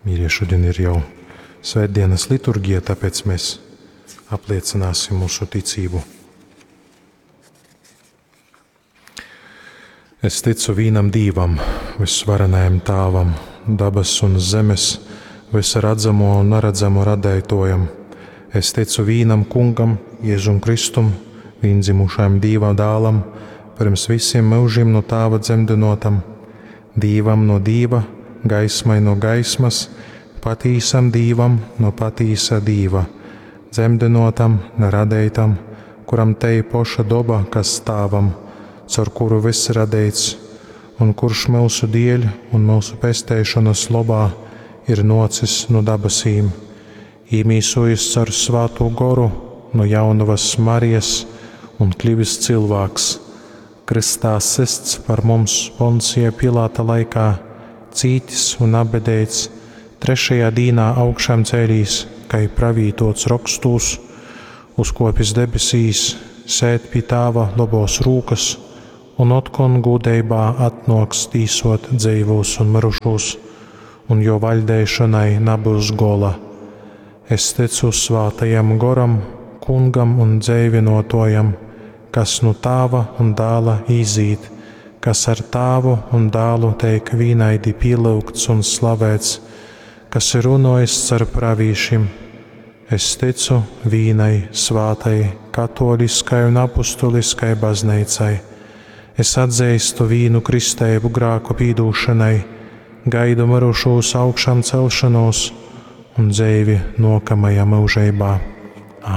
Mīļie, šodien ir jau svētdienas liturgija, tāpēc mēs apliecināsim mūsu ticību. Es ticu vīnam Dīvam, visvarenajam Tāvam, dabas un zemes, visa redzamo un neredzamo radētojam. Es ticu vīnam Kungam, Jēzum Kristum, vīndzimušajam Dīva dālam, pirms visiem mūžiem no Tāva dzemdinotam, Dīvam no Dīva, gaismai no gaismas, patīsam Dīvam no patīsa Dīva, dzemdinotam, neradeitam, kuram tei poša doba, kas Tāvam, caur kuru viss radeits, un kurš mūsu dieļ un mūsu pesteišanas lobā ir nocis no dabasīm, īmīsojis caur svāto goru no jaunavas Marijas un kļuvis cilvēks, kristā sists par mums Poncija Pilāta laikā, cītis un abedēts, trešajā dīnā augšām cēlīs, kai pravītots rokstūs, uzkopis debesīs, sēd pie tāva labos rūkas, un otkon gūdeibā atnoks tīsot dzeivūs un mirušūs, un jo vaļdēšanai nabūs gola. Es ticu svātajam goram, kungam un dzēvinotojam, kas nu tāva un dāla izīt, kas ar tāvu un dālu teik vīnaidi pielūgts un slavēts, kas ir runojis caur pravīšim. Es ticu vīnai svātai, katoliskai un apustuliskai bazneicai. Es atzīstu vīnu kristēbu grāku pīdūšanai, gaidu mirušūs augšām celšanos un dzēvi nokamajā mūžībā.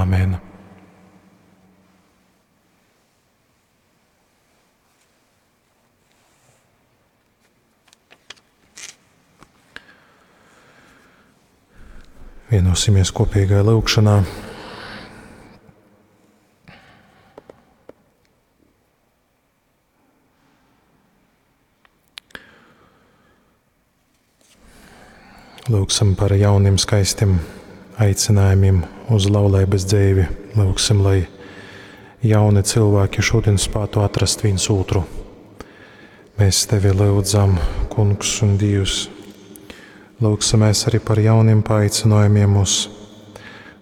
Āmen! Vienosimies kopīgā lūgšanā. Lūgsim par jauniem skaistiem aicinājumiem uz laulības dzīvi. Lūgsim, lai jauni cilvēki šodien spētu atrast viens otru. Mēs tevi lūdzam, Kungs un Dievs. Lūgsimies arī par jauniem paaicinājumiem uz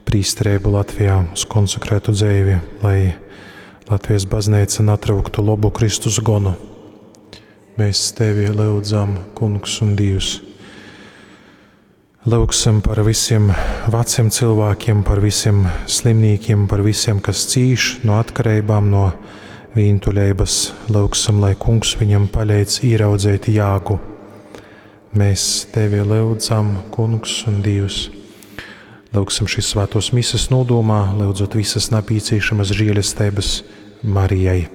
prīsterību Latvijā, uz konsekrētu dzīvi, lai Latvijas baznīca natrauktu labu Kristus gonu. Mēs tevi lūdzam, Kungs un Dievs. Lūgsim par visiem veciem cilvēkiem, par visiem slimniekiem, par visiem, kas cīš no atkarībām, no vientuļības. Lūgsim, lai Kungs viņam palīdz ieraudzēt jāgu. Mēs tevi lūdzam, Kungs un Dievs. Lūgsim šīs svētos mises nodomā, lūdzot visas napīcīšamas žēlestības Marijai.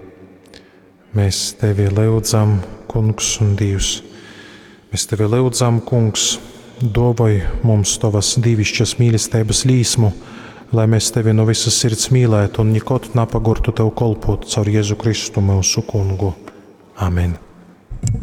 Mēs tevi lūdzam, Kungs un Dievs. Mēs tevi lūdzam, Kungs, dovoj mums tavas dīvišķas mīlestības līsmu, lai mēs tevi no visas sirds mīlētu un nekad napagurtu tev kolpot caur Jēzu Kristu mūsu kungu. Amen.